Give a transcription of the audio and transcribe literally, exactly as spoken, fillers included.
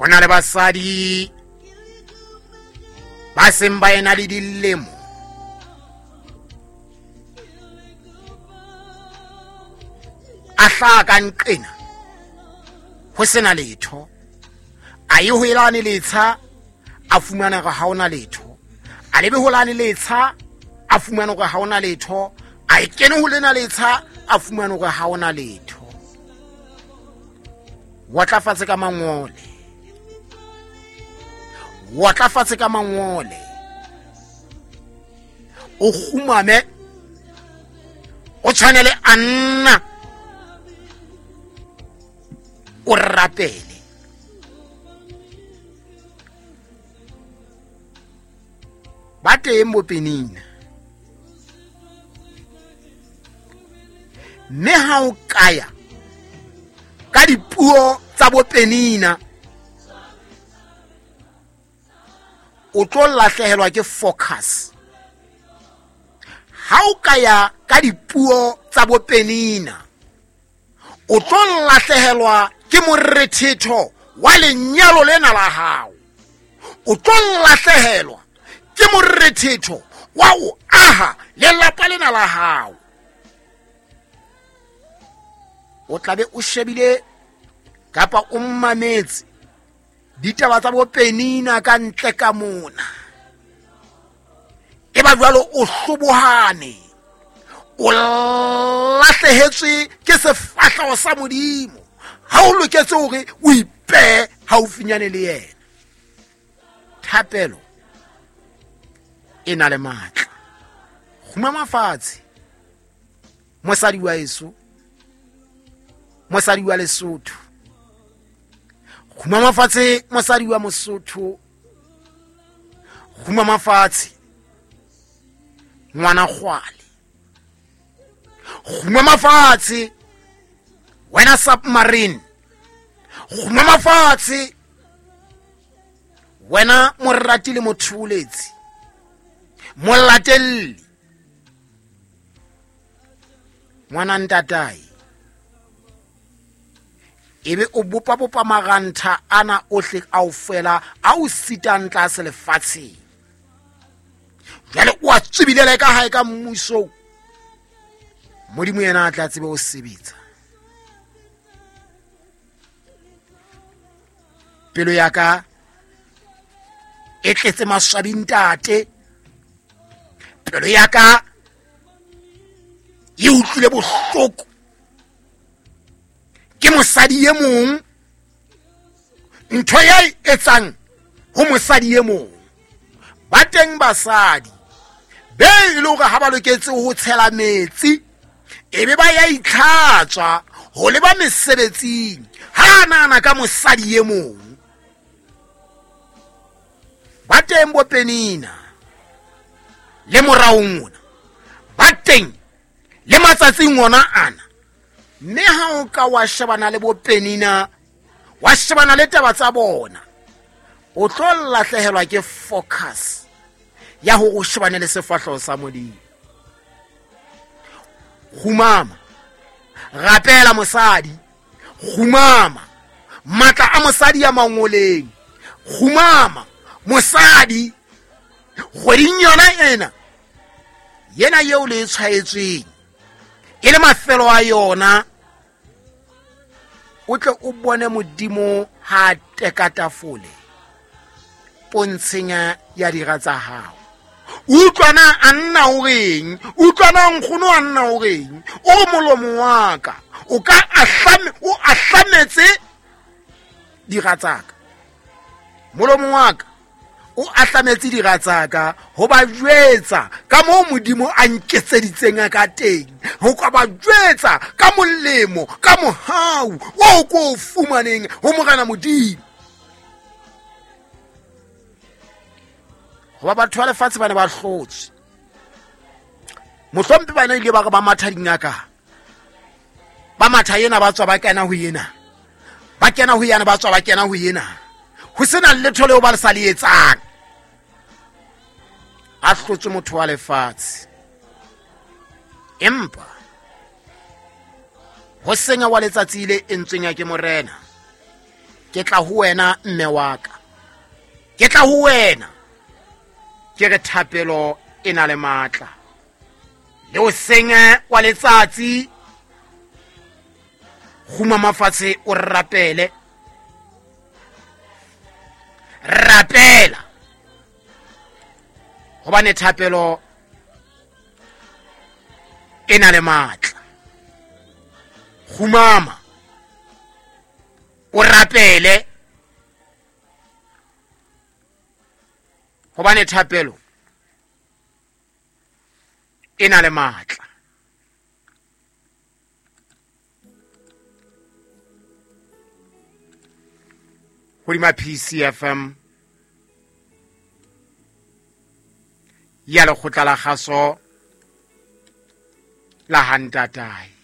na le basadi ba seng ba ena le dilemo a hlaha ka nqena ho sena letho, a ye ho elane letsha a fumana hore ha hona letho, a lebe ho lane letsha a fumana hore ha hona letho, a e kene ho lena letsha a fumana hore ha hona letho. Wa tla fatshe ka mangole, wa tla fatshe ka mangole, o kgumame o tshwane le Anna, o rapele. Ba teng bo Penina, mme ha o kaya ka dipuo tsa bo Penina o tlo lahlehelwa ke focus. Ha o kaya ka dipuo tsa bo Penina o tlo lahlehelwa ke morethetho wa lenyalo lena la hao, o tlo lahlehelwa ke morethetho wa o aha lelapa lena la hao. O tlabe o shebile kapa o mmametse ditaba tsa bo Penina ka ntle ka mona, e ba jwalo o hlobohane, o lahlehetswe ke sefahleho sa Modimo. Ha o loketse hore o ipehe haufinyane le yena. Thapelo e na le matla. Kgumama fatshe mosadi wa eso, mosadi wa Lesotho. Kgumama fatshe mosadi wa Mosotho. Kgumama fatshe ngwana kgwale. Kgumama fatshe wena submarine. Kgumama fatshe wena morati le motholetsi, molatelli, ngwana ntatae. Ebe o bopa bopa marantha ana ohle kaofela a o sitang tlase lefatsheng. Jwale o a tswibilele ka hae ka mmuso, Modimo yena a tla tsebe ho sebetsa. Pelo ya ka e tletse maswabi ntate, pelo ya ka e utlwile bohloko ke mosadi e mong, ntho ya e etsang ho mosadi e mong. Ba teng basadi be e le hore ha ba loketse ho tshela metsi ebe ba ya itlhatswa ho leba mesebetsing, ha nahana ka mosadi e mong. Ba teng bo Penina le moraong ona, ba teng le matsatsing ona ana. Mme ha o ka wa shebana le bo Penina, wa shebana le taba tsa bona, o tlo lahlehelwa ke focus ya hore o shebane le sefahleho sa Modimo. Kgumama, rapela mosadi, kgumama matla a mosadi ya mangoleng, kgumama mosadi kgweding yona ena yena eo le e tshwaetsweng e le mafelo a yona, o tle o bone Modimo ha teka tafole pontsheng ya dira tsa hao. Utlwana a nna o reng, utlwana nkgono a nna o reng, o re molomo wa ka o ka ahlame, o ahlametse dira tsa ka, molomo wa ka o ahlametse dira tsa ka ho ba jwetsa ka moo Modimo a nketseditseng ka teng, ho ka ba jwetsa ka molemo, ka mohau o ko fumaneng ho Morena Modimo. Hoba batho ba lefatshe ba ne ba hlotswe, mohlompe ba ne ile ba re ba matha dingaka, ba matha yena ba tswa ba kena ho yena, ba kena ho yana ba tswa ba kena ho yena, ho sena letho leo ba le sa le etsang. A hlotswe motho wa lefatshe, empa ho senya wa letsatsi le entsweng ya ke Morena, Ke tla ho wena mme wa ka, ke tla ho wena ke re thapelo e na le matla. Le o senge wa letsatsi, kgumama fatshe o rapele, rapela, hobane thapelo e na le matla. Kgumama o rapele, hobane thapelo e na le matla. Hodima P C F M ya lekgotla la kgaso la Hantatae.